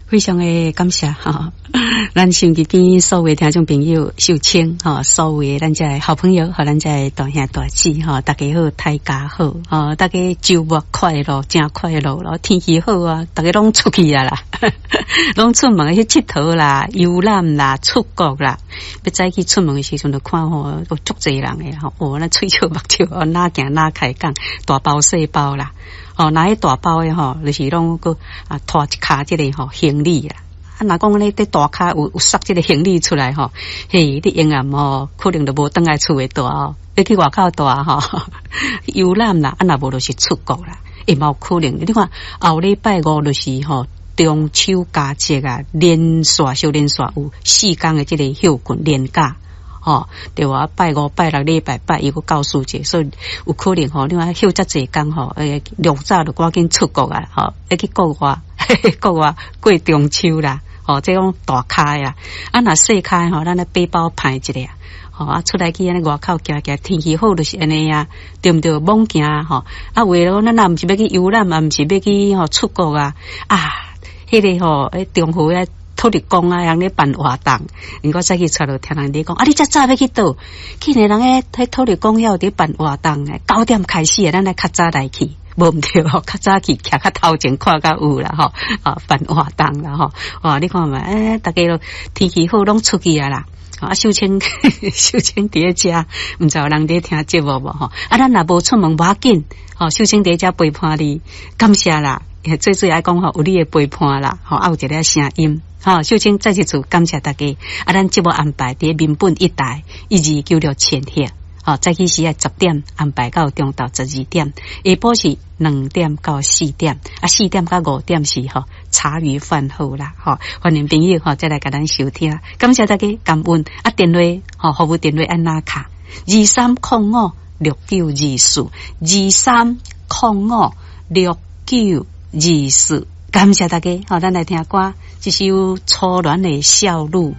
非常的感謝哈，咱收音機邊所有聽眾朋友秀清哈，所有咱遮好朋友和咱遮大兄大姊哈，大家好，大家好，哈，大家週末快樂，真快樂咯，天氣好啊，大家攏出去啊啦，攏出門去𨑨迌啦、遊覽啦、出國啦，欲早起出門的時陣就看吼，有足濟人的吼，哦，那喙笑目笑，哪行哪開講，大包細包啦。哦，若彼大包的吼，就是攏閣啊拖一跤這个吼行李啊。啊，若講你佇大跤有有塞這个行李出來吼，嘿，你永遠吼可能就無轉來厝會蹛哦，欲去外口蹛吼，遊覽啦，啊若無就是出國啦，會嘛有可能。你看後禮拜五就是吼中秋佳節啊，連續小連續有4工的這个休睏連假。吼，對無？拜五、拜六、禮拜拜一閣教師節，所以有可能吼，你看休遮濟工吼，欸，良早就趕緊出國啊，吼，欲去國外，國外過中秋啦，吼，這種大咖啊，啊，若細咖吼，咱來背包排一下，吼，啊，出來去按呢外口行行，天氣好就是按呢啊，對毋對？猛行吼，啊，有的講咱若毋是欲去遊覽，嘛毋是欲去吼出國啊，啊，彼个吼，彼中和遐。土地公啊，人咧辦活動，我早起出來聽人咧講，啊，你遮早欲去佗？去年人咧彼土地公遐有佇辦活動，九點開始的，咱來較早來去，無毋對吼，較早去徛較頭前看較有啦吼，啊，辦活動啦吼，哇，你看覓，欸，逐家都天氣好，攏出去啊啦，啊，秀清秀清佇咧遮，毋知有人佇聽節目無吼？啊，咱若無出門無要緊，吼，秀清佇遮陪伴你，感謝啦，最主要愛講吼，有你的陪伴啦，吼，啊，有一个聲音。好，秀清再一次感謝大家。啊，咱節目安排佇民本一台1296千赫。好，早起時愛10點安排到中晝12點，下晡是2點到4點，啊，4點到5點是吼茶餘飯後啦。吼，歡迎朋友吼再來共咱收聽。感謝大家感恩。啊，電話吼服務電話按哪敲？23056924，23056924。感謝大家，好，咱來聽歌，這首初戀的笑語。